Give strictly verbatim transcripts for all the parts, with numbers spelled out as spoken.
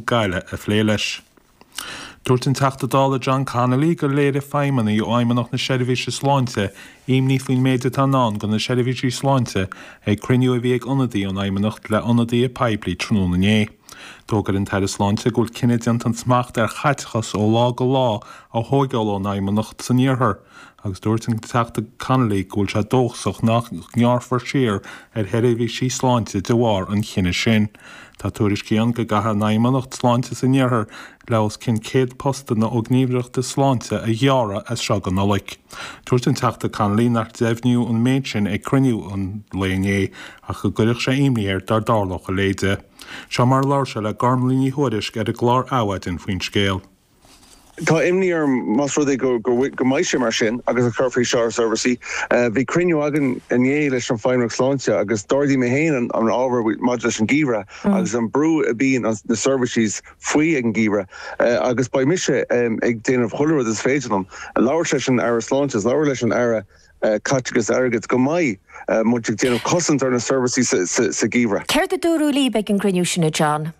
Gaillimh a phlé leis. Dúirt an Teachta Dála John Connolly gur léirigh feidhmeannaigh ó Fheidhmeannacht na Seirbhíse Sláinte imní faoin méid atá i ndán do na seirbhísí sláinte ag cruinniú a bhí ag ionadaí ón Fheidhmeannacht le ionadaithe poiblí tráthnóna inné. D'fhógair an tAire Sláinte go bhfuil cinneadh déanta an smacht ar chaiteachas ó lá go lá a thógáil ón Fheidhmeannacht san iarthar, agus dúirt an Teachta Connolly go bhfuil sé dóchasach nach ngearrfar siar ar sheirbhísí sláinte de bharr an chinnidh sin. Tá tuairiscí ann go gcaithfidh an Fheidhmeannacht Sláinte san iarthar le os cionn céad postanna ó ghníomhaireachtaí sláinte a ghearradh as seo go Nollaig. Dúirt an Teachta Connolly nach deimhníodh an méid sin ag cruinniú an lae inné ach go gcuirfeadh sé imní air dá dtarlódh a leithéid. Seo mar a labhair sé le Gormlaith Ní Thuairisg ar an gclár Adhmhaidin faoin scéal. Tá imní orm más rud é go go go mbeidh sé mar sin agus a chuirfí seo ar seirbhísí. Bhí cruinniú againn inné leis an Feidhmeannacht Sláinte agus d'ardaigh mé féin an an ábhar maidir leis an geimhreadh agus an brú a bhíonn na seirbhísí faoi ag an geimhreadh agus beidh mise ag déanamh chuile rud is féidir liom. Labhairt leis an Aire Sláinte, labhairt leis an Aire Caiteachais Airgid go mbeidh muid ag déanamh cosaint ar na seirbhísí sa gheimhreadh. Céard a dúradh libh ag an gcruinniú sin John?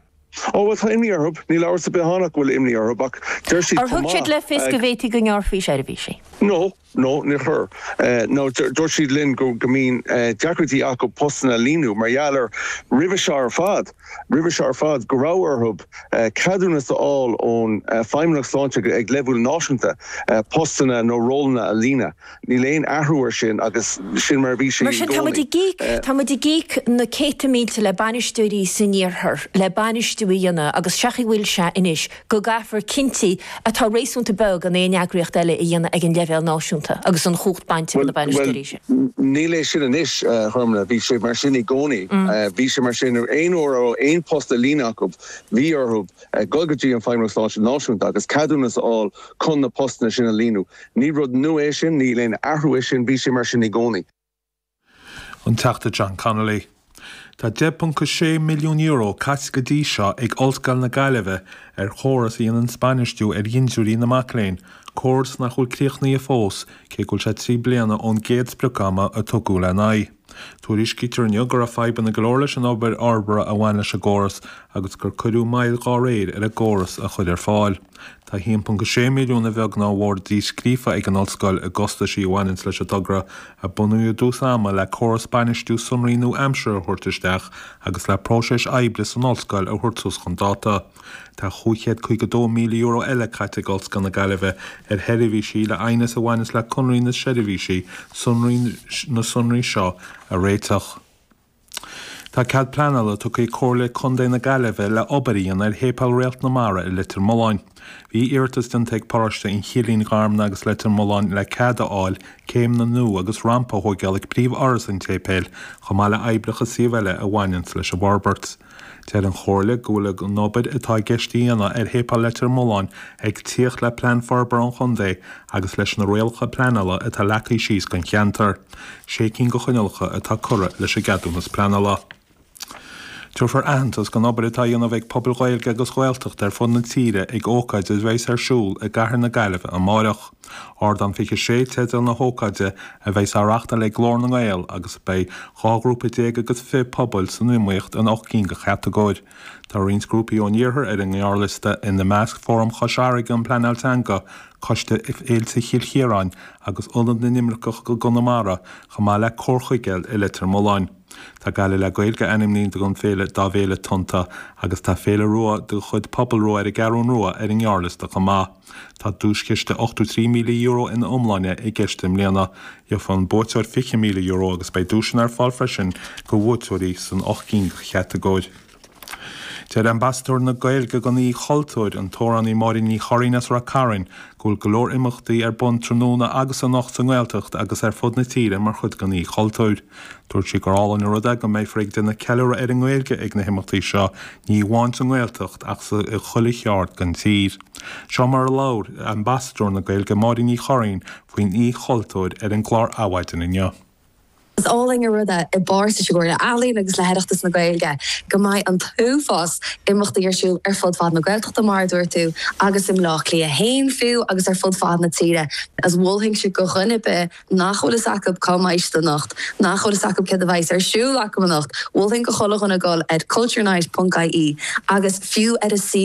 Ó well tá imní orthu, níl amhras ar bith ann go bhfuil imní orthu ach deir siad Ar thug siad le fios go bhféadfaí go ngearrfaí seirbhísí? No, no níor chuir. No dúirt siad linn go go mbíonn deacrachtaí acu postanna a líonadh mar gheall ar roimhe seo ar fad, roimhe seo ar fad go raibh orthu ceadúnas a fháil ón Feidhmeannacht Sláinte ag leibhéal náisiúnta postanna nó rólanna a líonadh. Níl aon athrú ar sin agus sin mar a bhí sé Mar sin tá muid ag íoc tá muid ag íoc na céadta mílte le bainisteoirí san iarthar le bainistiú a dhéanamh agus seachaí bhfuil sé anois go gcaithfear cinntí atá réasúnta beag in aon eagraíocht eile a dhéanamh ag an leibhéal náisiúnta agus an chumhacht bainte na bainisteoirí sin. Níl é sin anois chumna, bhí sé mar sin i gcónaí. Bhí sé mar sin aon uair ó aon post a líonadh acu bhí orthu dul go dtí an Feidhmeannacht Sláinte náisiúnta agus ceadúnas a fháil chun na postanna sin a líonadh. Ní rud nua é sin, níl aon athrú é sin, bhí sé mar sin i gcónaí. An Teachta John Connolly. Tá deich ponc sé milliún euro caite go dtí seo ag Ollscoil na Gaillimhe ar chóras a dhéanann bainistiú ar dhintiúirí na mac léinn, córas nach bhfuil críochnaithe fós, cé go bhfuil sé trí bliana ón gcéad sprioc-ama a tugadh lena aghaidh. Tuairiscítear inniu go raibh fadhbanna go leor leis an obair fhorbartha a bhain leis an gcóras agus gur cuireadh moill dá réir ar an gcóras a chur ar fáil. Tá haon ponc sé milliún a bheag ná mhór díscríofa ag an ollscoil i gcostaisí a bhaineann leis an togra a bunaíodh i dtús ama le córas bainistiú sonraí nua-aimseartha a thabhairt isteach agus le próiseas oibre san ollscoil a thabhairt suas chun dáta. Tá cúig chéad caoga dó míle euro eile caite ag Ollscoil na Gaillimhe ar sheirbhísí le aighneas a bhaineann le conairí na seirbhísí sonraí na sonraí seo a réiteach. Tá cead pleanála tugtha ag Comhairle Contae na Gaillimhe le obair a dhéanamh ar Shéipéal Réalt na Mara i Leitir Mealláin. Bhí iarratas déanta ag paróiste an Chillín Gharmna agus Leitir Mealláin le cead a fháil céimeanna nua agus rampa a thógáil ag príomhdhoras an tséipéil chomh maith le oibreacha suímh eile a bhaineann leis an bhforbairt. Deir an Chomhairle go bhfuil an obair atá i gceist a dhéanamh ar Shéipéal Leitir Mealláin ag tíocht le plean forbartha an chontae agus leis na rialacha pleanála atá leagtha síos don cheantar. Sé cinn de choinníollacha atá curtha leis an gceadúnas pleanála. Tabharfar aitheantas don obair atá á dhéanamh ag pobail Ghaeilge agus Ghaeltacht ar fud na tíre ag ócáid a bheas ar siúl i gCathair na Gaillimhe amárach. Ardán fiche sé teideal na hócáide a bheas á reáchtáil ag Glór na nGael agus beidh dhá ghrúpa déag agus fiche pobail san iomaíocht in ocht gcinn de chatagóir. Tá roinnt grúpaí ón iarthar ar an ngearrliosta ina measc Fóram Chois Fharraige um Pleanáil Teanga, Coiste Fhéilte Chill Chiaráin agus Ionad na nImirceach go Conamara chomh maith le Comhar Chuigéil i Leitir Mealláin. Tá Gaillimh le Gaeilge ainmnithe don féile dá bhféile Tonnta agus tá Féile Rua de chuid Pobal Rua ar an gCeathrú Rua ar an ngearrliosta chomh maith. Tá duaischiste ochtó trí míle euro ina iomláine i gceist i mbliana. Gheobhaidh an buaiteoir fiche míle euro agus beidh duaiseanna ar fáil freisin do bhuaiteoirí san ocht gcinn de chatagóir. Deir Ambasadóir na Gaeilge don Oíche Chultúir an t-amhránaí Máirín Ní Churraoin as Ráth Cairn go bhfuil go leor imeachtaí ar bun tráthnóna agus anocht sa nGaeltacht agus ar fud na tíre mar chuid den Oíche Chultúir. Dúirt sí gur álainn an rud é go mbeifear ag déanamh ceiliúradh ar an nGaeilge ag na himeachtaí seo ní amháin sa nGaeltacht ach sa i chuile cheard den tír. Seo mar a labhair Ambasadóir na Gaeilge Máirín Ní Churraoin faoin Oíche Chultúir ar an gclár Adhmhaidin inniu. Is álainn an rud é i bpáirt leis an gComhairle Ealaíon agus le hOireachtas na Gaeilge go mbeidh an t-uafás imeachtaí ar siúl ar fud fad na Gaeltachta mar a dúirt tú agus i mBleá Cliath féin fiú agus ar fud fad na tíre. Is mholfainnse go dhuine ar bith nach bhfuil fhios acu cá mbeidh siad anocht, nach bhfuil fhios acu céard a bheas ar siúl acu anocht, mholfainn go chuile dhuine dul ar culturenight ponc ie agus fiú ar a suíomh